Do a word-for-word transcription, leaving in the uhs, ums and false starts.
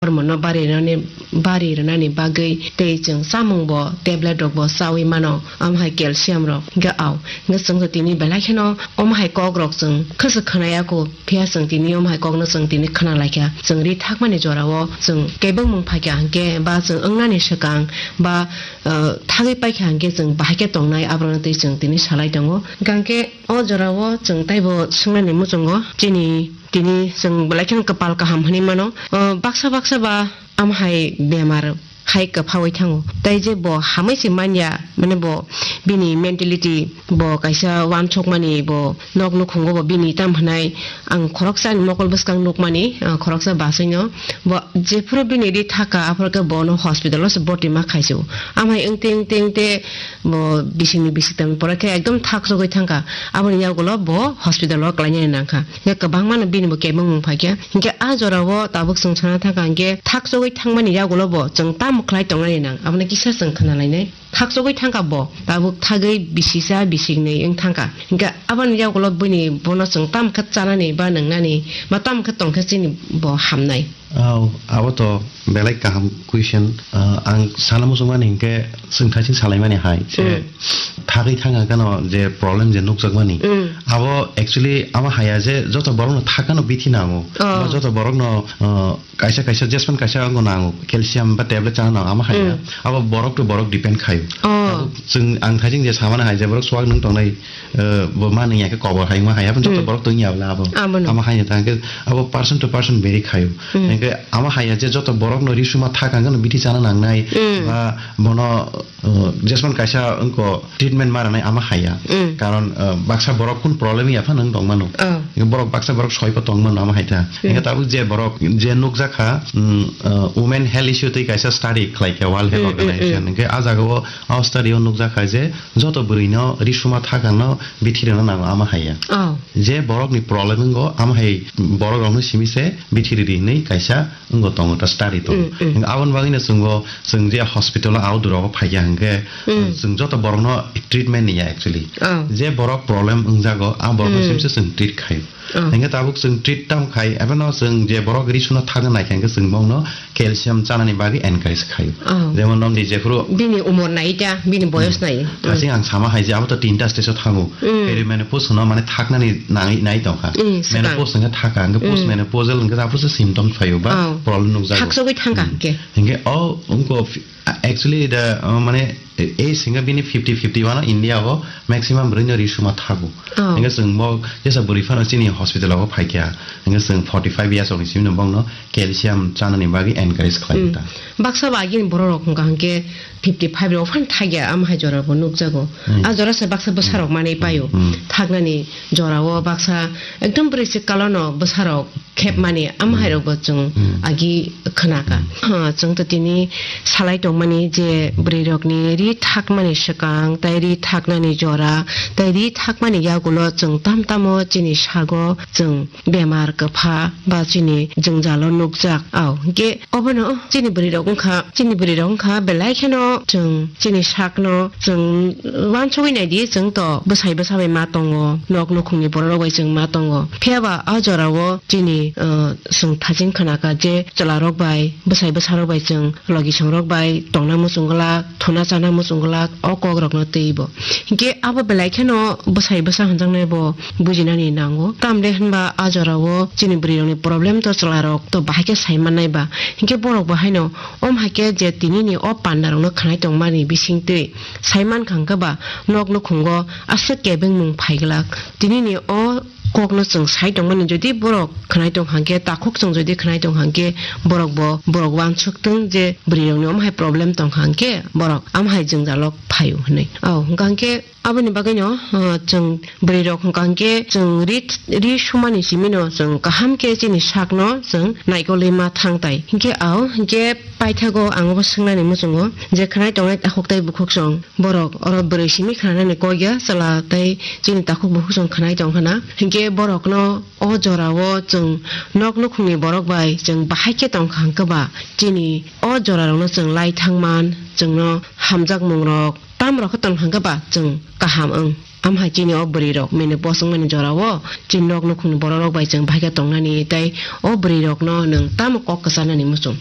hormone no bari rwnani, bari rwnani bagwi tei chwng chamung bo tablet rok bo chawi mano, omo hai calcium rok hwnkhe au. Hwnkhe chwng tini belai kheno omo hai kok rok chwng khwsa khwnaya kho, phiya chwng tini omo hai kok no chwng tini khwna laikha. Chwng ri thakmani jora o chwng kebengmung phaikha hwnkhe ba chwng wngnani swkang ba, uh, thagwi paikha hwnkhe chwng bahai khe tongnai, aborokno twi chwng tini salai tongo. Hwnkhe o jora o chwng taibo swngnani muchungo chini tini chwng belai kheno kwpal kaham hinwi mano. O, baksa baksa ba omo hai bemar hai kwphaui thango. Tai je bo hamwi se manya, mane bo bini mentality bo kaisa uansukmani, bo nok nukhungo bo bini tam hinai ang khoroksa ni mokol bwskang nukmani, ah, khoroksa basaino bo jephuru bini ri thaka aphuru khe bono hospital o se boti ma khaisio. Amhai wngte wngte wngte bo bisingni bisingtwi pore khe ekdom thak chogwi thangkha. Aboni yagulo bo hospital o klainani nangkha. Hwnkhe kwbangma no bini bo kebengmung phaikha. Hwnkhe a jora o tabuk chwng sana thangkha hwnkhe thak chogwi thangmani yagulo bo chwng tamo khlai tongnani nang, abono kisa chwng khna lainai. Thak chogwi thangkha bo, tabuk thagwi bisisa bisiknwi wng thangkha. Hwnkhe aboni yagulo bini bono chwng tamo khe chanani ba nwngnani ba tamo khe tongkhe chini bo hamnai. Oh, abo to belai kaham question. Ah, ang sana muchungmani hinkhe chwng thaiching salaimani hai je Mm. thagwi thangkha gano je problem je nukjakmani. Mm. Abo actually ama haya je joto borokno thakano bithi nango. Oh. Ba joto borokno, ah, kaisa kaisa jespan kaisa wngkha nango, calcium ba tablet chana nango ama haya. Mm. Abo borok to borok depend khayo. Oh. Abo chwng ang thaiching je samani hai je borok swk nung tongnai, eh, bo ma nung ya khe kobor hai wngma hai, abo joto Mm. borok tong ya bla abo. Abono. Ama hai tang khe abo person to person vary khayo. Mm. Hingkhe ama hai ya je joto borok no risuma thak ang no bithi chana nangnai Mm. ba bono, eh, jesman kaisa wngko treatment ma rwnai ama hai ya. Mm. Karon, eh, baksa borok kun problem ya pha nung tong mano. Oh. Hingkhe borok baksa borok soi pa tong mano ama hai ta. Mm. Hingkhe tabuk je borok je nukjak kha, mm, eh, women health issue twi kaisa study khlai kha World Health Mm, mm, Organization. mm. Hingkhe a jaga o, o study o nukjak kha je joto bwrwi no risuma thak ang no bithi rwna nango ama hai ya. Oh. Je borok ni problem wngo, amo hai borok rok no simi se bithi riri hinwi kaisa wngo tongo ta study tongo. Mm, mm. Hingke aboni bagwi no chwngo, chwng je hospital o outdoor rogo phaikha hingke, Mm. chwng joto borok no treatment niya actually. Oh. Je borok problem wngjago, a borok no Mm. simi se chwng treat khaio. Oh. Hingke tabuk chwng treat tamo khai, abo no chwng je borok ri suna thangna naikha hingke chwng bongno calcium chanani bagwi encourage khaio. Oh. Jemon nomdi jephuru Bini umor nai ta, bini boyos Hmm. nai. Hmm. Asing ang sama hai je abo to tinta stage o thango. Hmm. Perimenopause hono mane thaknani nai, nai tongkha. Hmm, swkang. Menopause hingke thaka, hingke Hmm. postmenopausal hingke abo se symptoms phaio ba Oh. problem nukjago. Thaksogwi thangkha Hmm. hingke. Hingke o wngko fi-, actually the, uh, mane age hingke bini fifty fifty wano India o maximum bwrwi no ri suma thago. Oh. Hingke chwng bo jesa bwrwi phano chini hospital o phaikha. Hingke chwng forty five years rokni simi no bongno calcium chanani bagwi encourage khlai Hmm. ta. Baksa ba agini borok rok hwnkha hwnkhe fifty five rok phan thakya, am hai jora bo nukjago. Hmm. A jora se baksa bwsa rok Hmm. manwi paio. Hmm. Thaknani jora o baksa ekdom bwrwi se kalo no bwsa rok khep mani, am hai Hmm. rok bo chwng Hmm. agi khna ka. Hmm. Ha, chwng to tini salai tongmani je bwrwi rokni ri thakmani swkang, tai ri thaknani jora, tai ri thakmani yagulo chwng tam tamo chini sago chwng bemar kwpha ba chini jwngjalo nukjak. Au, hwnkhe obono chini bwrwi rok wngkha, chini bwrwi rok wngkha belai kheno chwng chini sakno chwng uansugwi naidi, chwng to bwsai bwsa bai ma tongo, nok nukhungni borok rok bai chwng ma tongo. Phiya ba a jora o chini, uh, chwng thaching khna kha je chwla rok bai, bwsai bwsa rok bai chwng logi song rok bai tongna muchung glak, thuna chana muchung glak, o kok rok no twi bo. Hinkhe abo belai kheno bwsai bwsa hwnjaknai bo bujinani nango. Tamle hwnba a jora o chini bwrwi rokni problem to chwla rok to bahai khe sai mannai ba. Hinkhe borok bo haino om hai khe je tini ni o panda rok no khnai tongmani bising twi sai mankha hwnkhe ba nok nukhungo aswk kebengmung phai glak. Tini ni o kok no chwng sai tongmani, jodi borok khnai tong hangkhe, takhuk chwng jodi khnai tong hangkhe, borok bo, borok uansuk tong je bwrwi rok ni om hai problem tong hangkhe, borok am hai jwngjal o phaio hinwi. Au, hwnkha hwnkhe aboni bagwi no, uh, chwng bwrwi rok hwnkha hwnkhe chwng ri, ri sumani simi no chwng kaham khe chini sak no chwng naikolwi ma thang tai. Hinkhe au, hinkhe paithago ang obo swngnani muchungo je khnai tongnai takhuk tei bukhuk chwng borok oro bwrwi simi khnanani kok ya, chwla tei chini takhuk bukhuk chwng khnai tong khna. Hinkhe borokno o jorao chwng nok nukhungni borok bai chwng bahai khe tong kha hwnkhe ba chini o jorarokno chwng lai thang man, chwngno hamjakmungrok Tam rok khe tong thang khe ba chwng kaham wng. Amhai chini o bwrwi rok mene bosong mani jora o chini nok nukhung ni borok rok bai chwng bai khe tong nani tei o bwrwi rok no nwng tamo kok kwchar nani muchung.